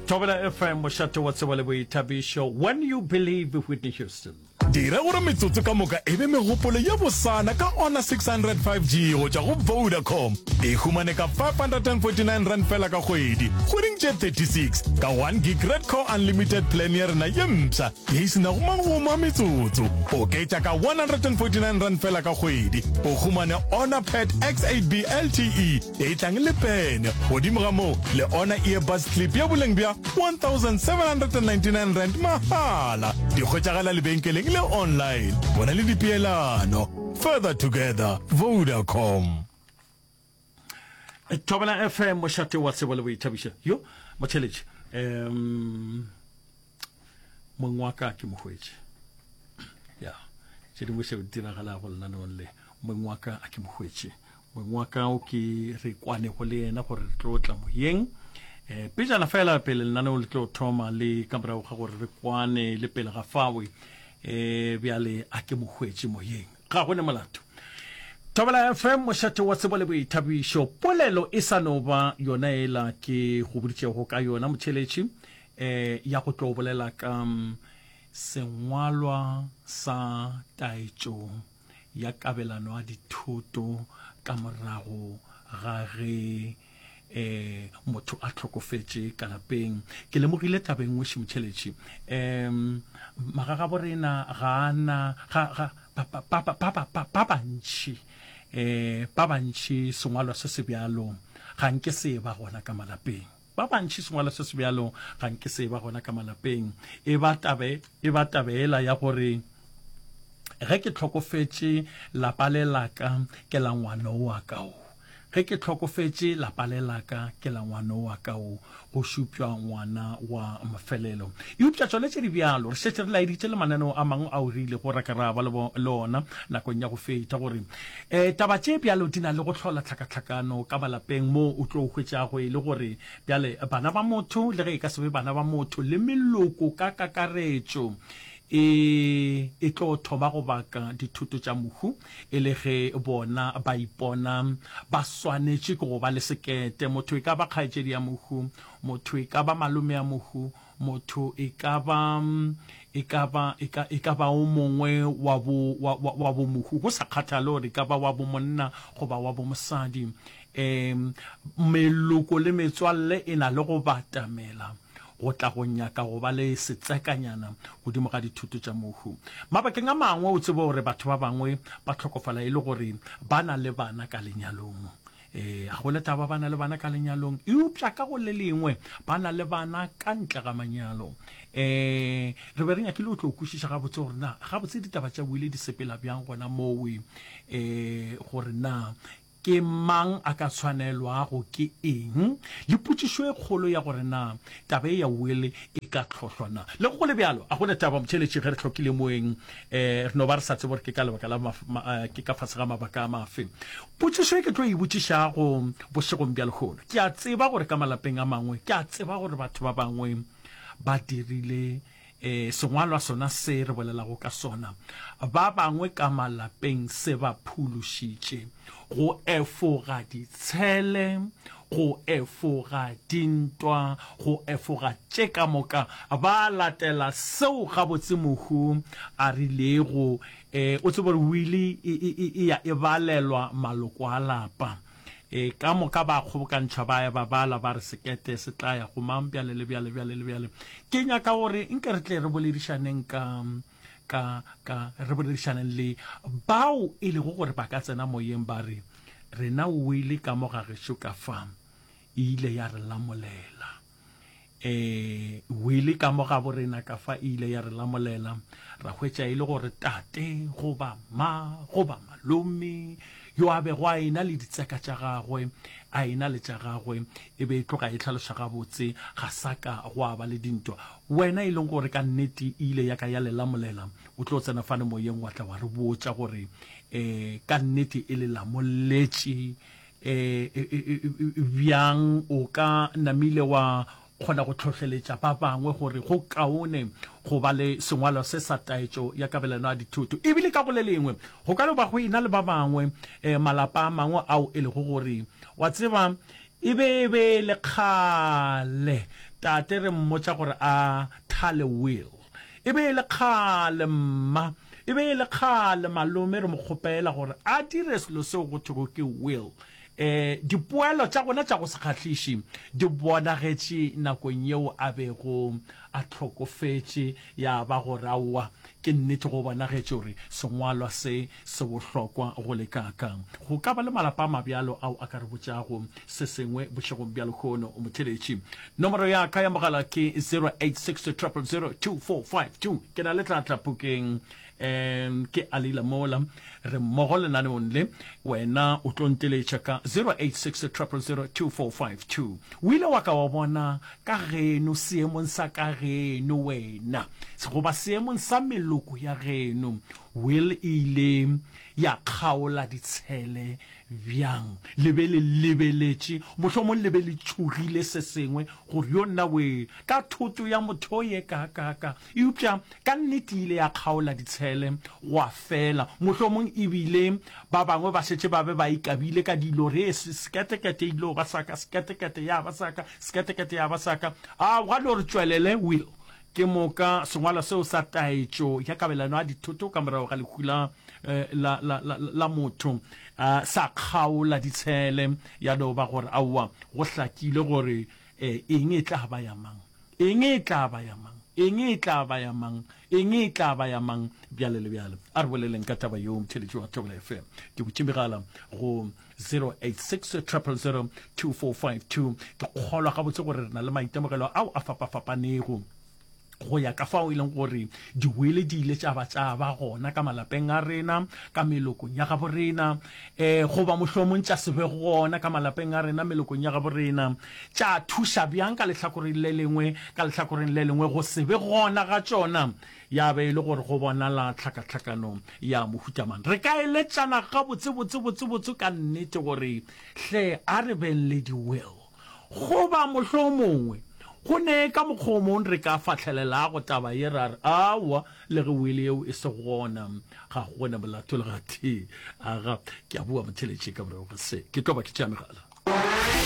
Thobela FM, mošate wa tsebo le boithabišo. When you believe Whitney Houston. Dira gore metsotso ka moka e be megopolo ye bosana ka Honor 600 5G go tšwa go Vodacom. E humane ka R549 feela ka kgwedi, kgweding tše 36, ka 1 gig Red Core Unlimited plan ya rena ye mpsha ye e se nago magomo a metsotso. Oketša ka R149 feela ka kgwedi, o humane Honor Pad X8B LTE e tlang le pene. Godimo ga moo, le Honor Earbuds Clip ya boleng bja R1799 mahala. Di hwetšagala lebenkeleng le online. Bona le dipeelano. Further together, Vodacom. Thobela FM, mošate wa tsebo le boithabišo. Yo, motheletši. Um, mong wa ka ke mohwetše. Ya, tše dingwe šeo di diragalago lenaneong le. Mong wa ka a ke mohwetše. Mong wa ka o ke re kwanego le yena gore re tlo tla moyeng. Um pejana fela pele lenaneo le tlo thoma le ka morago ga gore re kwane le pele ga fawe, um bjale a ke mo hwetše moyeng. Ga go ne molato. Thobela FM, mošate wa tsebo le boithabišo. Polelo e sa no ba yona ela ke go boditšego ka yona motheeletši, um ya go tlo bolela ka sengwalwa sa taetšo ya kabelano ya dithoto ka morago ga ge um motho a hlokofetše ka lapeng. Ke lemogile taba e nngwe Šimotšheletši, um magagabo rena ga a na, ga, ga, ba, ba, ba, ba, ba, ba, ba bantši, um ba bantši sengwalwa se se bjalo ga nke se ba gona ka malapeng. Ba bantši sengwalwa se se bjalo ga nke se ba gona ka malapeng. E ba tabe, e ba taba yela ya gore ge ke hlokofetše lapa le la ka ke la ngwano wa ka o. Ge ke hlokofetše lapa le la ka ke la ngwano wa ka o, go šupša ngwana wa mafelelo. Eupša tšona tše di bjalo, re šetše re laeditše le mananeo a mangwe ao re ilego ra ka ra ba le ona nakong ya go feta gore E, taba tše bjalo di na le go hlola tlhakatlhakano ka malapeng moo o tlo hwetšago e le gore bjale bana ba motho, le ge e ka se be bana ba motho, le meloko ka kakaretšo e, e tlo thoma go baka dithoto tša mohu e le ge bona ba ipona ba swanetše ke go ba le sekete. Motho e ka ba kgaetšedi ya mohu, motho e ka ba malome ya mohu, Motho e ka ba, e ka ba, e ka, e ka ba o mongwe wa bo, wa, wa, wa bo mohu, go sa kgathale gore e ka ba wa bo monna goba wa bo mosadi. Um, meloko le metswalle e na le go batamela go tla go nyaka go ba le setsekanyana godimo ga dithoto tša mohu. Mabakeng a mangwe o tsebe gore batho ba bangwe ba hlokofala e le gore ba na le bana ka lenyalong. Ee, ga go le taba ba na le bana ka lenyalong, eupša ka go le lengwe ba na le bana ka ntle ga manyalo. Um re be re nyakile go tlo kwešiša gabotse gore na gabotse ditaba tša wile di sepela bjang gona mowe, um gore na ke mang a ka tshwanelwago ke eng, le potšišo e kgolo ya gore na taba e ya will e ka hlohlwa na. Le go le bjalo, a go ne taba motheeletši ge re hlokile moeng, um re no ba re sa tsebe gore ke ka lebaka la ke ka fase ga mabaka a mafe. Potšišo e ke tlo e botšišago bošegong bja lehono, ke a tseba gore ka malapeng a mangwe, ke a tseba gore batho ba bangwe ba dirile um sengwalwa sona se re bolelago ka sona, ba bangwe ka malapeng se ba phološitše go efoga ditshele, go efoga dintwa, go efoga tše ka moka, ba latela seo gabotse mohu a rilego E, o tsebe gore wili e, e, e, e ya e balelwa maloko a lapa. E, ka moka ba kgobokantšhwa ba ya ba bala ba re sekete se tla ya go mang bjale le bjale bjale le bjale. Ke nyaka gore nke re tle re boledišaneng ka, ka, ka, re boledišaneng le bao e lego gore ba ka tsena moyeng ba re, rena wili ka mo ga gešo ka fa e ile ya re lamolela. E, wili ka mo gabo rena ka fa e ile ya re lamolela, ra hwetša e le gore tate goba ma goba malome yo a bego a ena le ditseka tša gagwe, a ena le tša gagwe, e be e tloga e hlaloša gabotse, ga sa ka gwa ba le dintwa. Wena e leng gore ka nnete e ile ya ka ya le lamolela, o tlo tsena fane moyeng wa tla wa re botša gore e, ka nnete e le lamoletše E, e, e, bjang o ka namile wa kgona go hlohleletša ba bangwe gore go kaone go ba le sengwalwa se sa taetšo ya kabelano ya dithoto. E bile ka go le lengwe, go ka no ba go e na le ba bangwe, malapa a mangwe ao e lego gore, wa tseba, E be e be e le kgale tate re mmotša gore a thale will. E be e le kgale mma, e be e le kgale malome re mo kgopela gore a dire selo seo go thwego ke will. E, dipoelo tša gona tša go se kgahliše di bonagetše nakong yeo a bego a hlokofetše, ya ba gore aowa, ke nnete go bonagetše gore sengwalwa se se bohlokwa go le kaakang. Go ka ba le malapa a mabjalo ao a ka re botšago se sengwe bošegong bja lehono, motheeletši. Nomoro ya ka ya mogala ke 086 000 2452. Ke na le tlatla pukeng. Um ke Alila mola re mmogo lenaneong le wena o tlo nteletša ka 086 000 2452. O ile wa ka wa bona ka geno seemong sa ka geno wena goba seemong sa meloko ya geno will e ile ya kgaola ditshele bjang? Le be le lebeletše, mohlomong le be le tšhogile se sengwe gore yo nna wee ka thoto ya motho ye kaakaka. Eupša ka nnete e ile ya kgaola ditshele gwa fela. Mohlomong e bile ba bangwe ba šetše ba be ba ikabile ka dilo, re seketekete e ile ba sa ka, seketekete ya ba sa ka, seketekete ya ba sa ka. A gwa no re tšwelele, Will. Ke moka sengwalwa seo sa taetšo ya kabelano ya dithoto ka morago ga lehu la, la, la, la, la motho sa kgaola ditshele, ya no ba gore aowa, go hlakile gore eng e tla ba ya mang, eng e tla ba ya mang, eng e tla ba ya mang, eng e tla ba ya mang, bjale le bjale. A re boleleng ka taba yeo, motheeletši wa Thobela FM. Ke butše megala go 086 000 2452. Ke kgolwa gabotse gore re na le maitemogelo ao a fapafapanego go ya ka fao e leng gore diwele di ile tša ba tša ba gona ka malapeng a rena, ka melokong ya gabo rena, um goba mohlomong tša se be gona ka malapeng a rena, melokong ya gabo rena, tša thuša bjang ka lehlakoreng le lengwe, ka lehlakoreng le lengwe go se be gona ga tšona ya be e le gore go bonala tlhakatlhakano ya mohuta mang. Re ka eletšana gabotsebotsebotsebotse ka nnete gore hle a re beng le di-will. Goba mohlomongwe go ne ka mokgwa o mongwe re ka fahlelelago taba ye ra re, Aowa, le ge will yeo e se gona, ga go na molato le gatee. Aga, ke a bua motheeletši ka morago ga se. Ke tlo ba ke tšea megala.